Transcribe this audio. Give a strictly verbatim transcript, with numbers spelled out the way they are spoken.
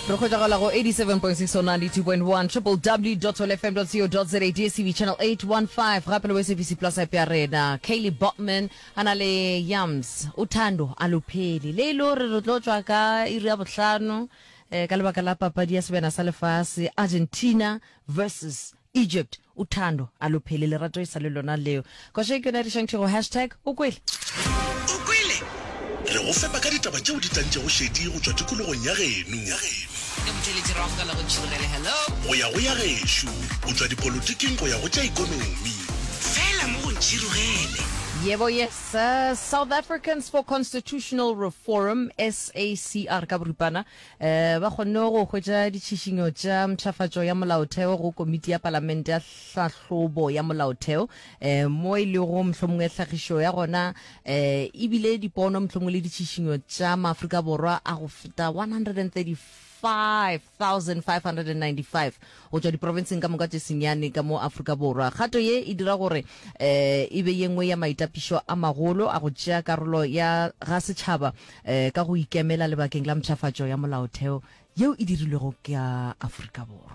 Re hwetšagala go eighty-seven point six or ninety-two point one, www dot fm dot co dot za, D S T V channel eight one five, gape le S A B C Plus app ya rena. Kaylee Botman a na le Yams, Uthando Alupheli. Le e le gore re tlo tšwa ka iri ya bohlano eh, ka lebaka la papadi ya sebjana sa lefase, Argentina versus Egypt. Uthando Alupheli, lerato e sa le lona leo. Koša e ke yona e re šantšhego hashtag o kwele. O kwele? Re go fepa ka ditaba tšeo di tlantšego šedi go tšwa tikologong ya geno. Ke motheeletši ra amogela go Ntšhirogele. Hello. Go ya go ya gešo, go tšwa dipolotiking go ya go tša ekonomi. Fela mo go Ntšhirogele. Yebo, yes, uh, South Africans for Constitutional Reform, S A C R ka boripana, eh, ba kgonne go hwetša ditšhišinyo tša mpshafatšo ya molaotheo go komiti ya palamente ya hlahlobo ya molaotheo, eh, mo e lego mohlomongwe hlagišo ya gona eh, ebile dipono mohlomongwe le ditšhišinyo tša Maafrika Borwa a go feta one hundred thirty-five thousand five hundred ninety-five go tšwa diprofenseng ka moka tše senyane ka mo Afrika Borwa. Kgato ye e dira gore eh, e be ye nngwe ya maitapišo a magolo a go tšea karolo ya ga setšhaba eh, ka go ikemela lebakeng la mpshafatšo ya molaotheo yeo e dirilwego ka Afrika Borwa.